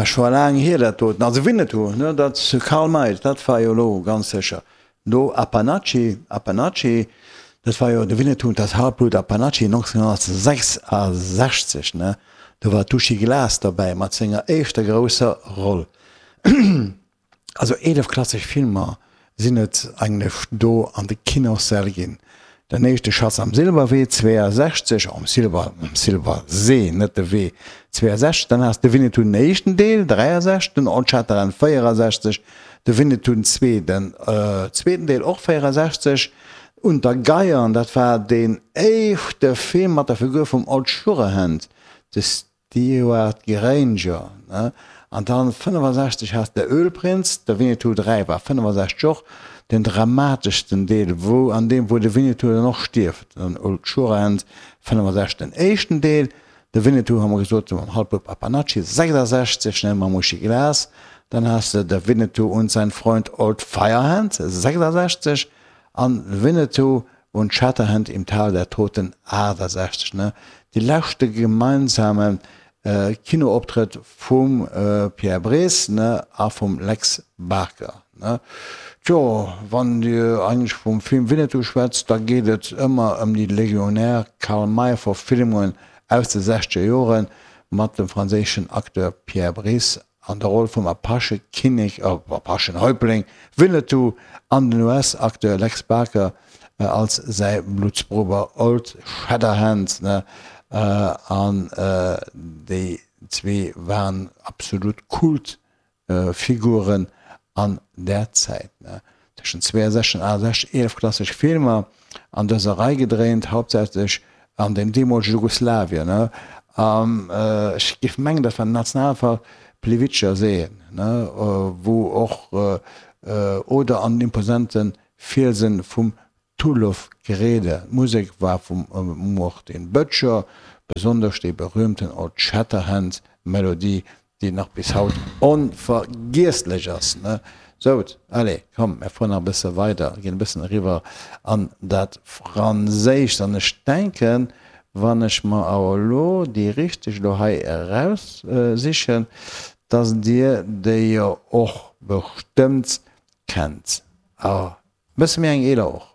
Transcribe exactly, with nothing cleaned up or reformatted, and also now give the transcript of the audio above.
Scho laang hier dat doten. Also Winnetou, ne, dat Karl May, dat war jo elo ganz sécher. No Apanachi, Apanachi, dat war jo de Winnetou und das Halbblut Apanachi nonzénghonnertsechsasechzeg, ne, do war d'Uschi Glas derbäi mat senger éischter grousser Roll. Also eelef klassesch Filmer sinn et eigentlech do an de Kinossäll ginn. Den éischte Schatz am Silberwee, zweeësechzeg, am Silber, am Silbersee, net de Wee, zweeësechzeg, dann has de Winnetou den éischten Deel, dräiasechzeg, den Old Shatterhand, véierasechzeg, de Winnetou den zwee, den zweeten Deel och véierasechzeg, Unter Geiern, dat war deen éischte Film mat der Figur vum Old Surehand, de Stewart Granger, ne? An dann fënnefasechzeg has de Ölprinz, de Winnetou dräi war fënnefasechzeg och den dramateschsten Deel, wou an deem wou de Winnetou dann och stierft, den Old Surehand fënnefasechzeg den éischten Deel, de Winnetou hu mer gesot mam Halbbub Apanachi sechsasechzeg, ne, mam Uschi Glas, dann has de Der Winnetou und sein Freund Old Firehand sechsasechzeg an Winnetou und Shatterhand im Tal der Toten aachtasechzeg, ne, dee leschte gemeinsame Kinooptrëtt vum Pierre Brice, ne, a vum Lex Barker, ne. Tjo, wann Dir eigentlech vum Film Winnetou schwätzt, da geet et ëmmer ëm déi legionär Karl May Verfilmungen aus de sechzeger Jore mat dem franséischen Acteur Pierre Brice an der Roll vum Apache-Kinnek, Apachen-Häuptling Winnetou an den U S-Acteur Lex Barker als säi Bluttsbrudder Old Shatterhand, ne, an déi zwee waren absolut Kultfiguren an där Zäit, ne. Tëschent zweeënsechzeg an aachtasechzeg eelef klassesch Filmer an dëser Rei gedréint, hauptsächlech an dem deemolege Jugoslawien, ne. An ech géif mengen, dat war den Nationalpark Plivitscher See, ne, wou och, oder an den imposante Fielsen vum Tulov Grede. D'Musek war vum Martin Böttcher, besonnesch déi berühmten Old Shatterhand Melodie, déi nach bis haut onvergiesslech ass, ne? Sou, allez, komm, mär fueren nach e bësse weider, ginn e bëssen eriwwer an dat Franséischt. An ech denken, wann ech mer awer elo déi richteg elo hei eraussichen, dass Dir déi jo och bestëmmt kennt. A bësse méi eng eeler och.